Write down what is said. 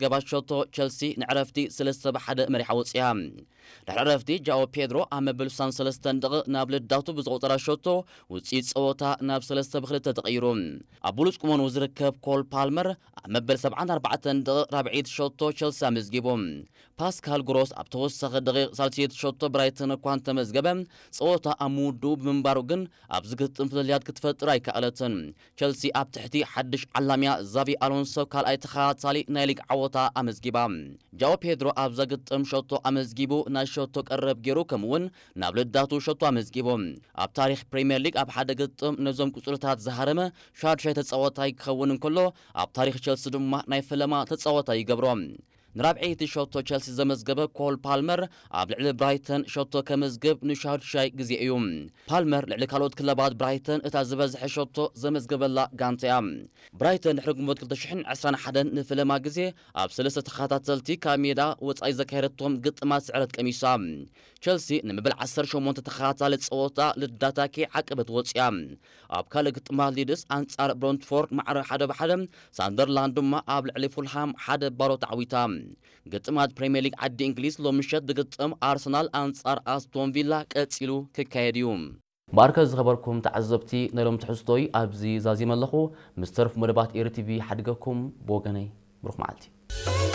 ዘመዝገባ ሸቶ፣ ቸልሲ ንዕረፍቲ ሰለስተ ብ ሓደ መሪሓ ወፂኣ። ድሕሪ ዕረፍቲ ጃኦ ፔድሮ ኣብ መበል ስሳን ሰለስተን ደቂቕ ናብ ልዳቱ ብዘቑፀራ ሸቶ ውፅኢት ፀወታ ናብ ሰለስተ ብ ክልተ ተቐይሩ። ኣብ ብሉፅ ቁመንኡ ዝርከብ ኮል ፓልመር ኣብ መበል ሰብዓን ኣርባዕተን ደቂቕ ራብዐይቲ ሸቶ ቸልሲ ኣመዝጊቡ። ፓስካል ግሮስ ኣብ ተወሳኺ ደቂቕ ሳልሰይቲ ሸቶ ብራይተን እኳ እንተመዝገበ፣ ፀወታ ኣብ ምውድኡ ብምንባሩ ግን ኣብዚ ግጥም ፍልልያት ክትፈጥር ኣይከኣለትን። ቸልሲ ኣብ ትሕቲ ሓድሽ ዓላምያ ዛቪ ኣሎንሶ ካልኣይ ተኸታታሊ ናይ ሊግ ዓወታ ኣመዝጊባ። ጃኦ ፔድሮ ኣብዛ ግጥም ሸቶ ኣመዝጊቡ፣ ናይ ሸቶ ቀረብ ገይሩ፣ ከምኡ'ውን ናብ ልዳቱ ሸቶ ኣመዝጊቡ። ኣብ ታሪኽ ፕሪምየር ሊግ ኣብ ሓደ ግጥም ነዞም ቁጽርታት ዝሃረመ ሻድሻይ ተጻዋታይ ክኸውን እንከሎ፣ ኣብ ታሪኽ ቸልሲ ድማ ናይ ፈለማ ተጻዋታይ ይገብሮ። ንራብዐይቲ ሸቶ ቸልሲ ዘመዝገበ ኮል ፓልመር ኣብ ልዕሊ ብራይተን ሸቶ ከመዝግብ ንሻድሻይ ግዜ እዩ። ፓልመር ልዕሊ ካልኦት ክለባት ብራይተን እታ ዝበዝሐ ሸቶ ዘመዝገበላ ጋንታ እያ። ብራይተን ድሕሪ ግንቦት ክልተ ሽሕን ዕስራን ሓደን ንፈለማ ግዜ ኣብ ሰለስተ ተኸታተልቲ ካብ ሜዳ ወጻኢ ዘካየደቶም ግጥማት ስዕረት ቀሚሳ። ቸልሲ ንመበል ዓሰርተ ሸሞንተ ተኸታታሊ ጸወታ ልዳታ ከይዓቀበት ወጺኣ። ኣብ ካልእ ግጥማት ሊድስ ኣንጻር ብሮንትፎርድ ማዕረ ሓደ ብ ሓደ፣ ሳንደርላንድ ድማ ኣብ ልዕሊ ፉልሃም ሓደ ባዶ ተዓዊታ። ግጥማት ፕሪምየር ሊግ ዓዲ እንግሊዝ ሎሚ ምሸት ብግጥም ኣርሰናል ኣንጻር ኣስቶን ቪላ ቀጺሉ ክካየድ እዩ። እምበኣርከ ዝኸበርኩም ተዓዘብቲ፣ ናይ ሎም ትሕዝቶይ ኣብዚ ዛዚመ ኣለኹ። ምስ ተርፍ መደባት ኤሪ ቲቪ ሓድገኩም። ብወገነይ ብሩኽ መዓልቲ።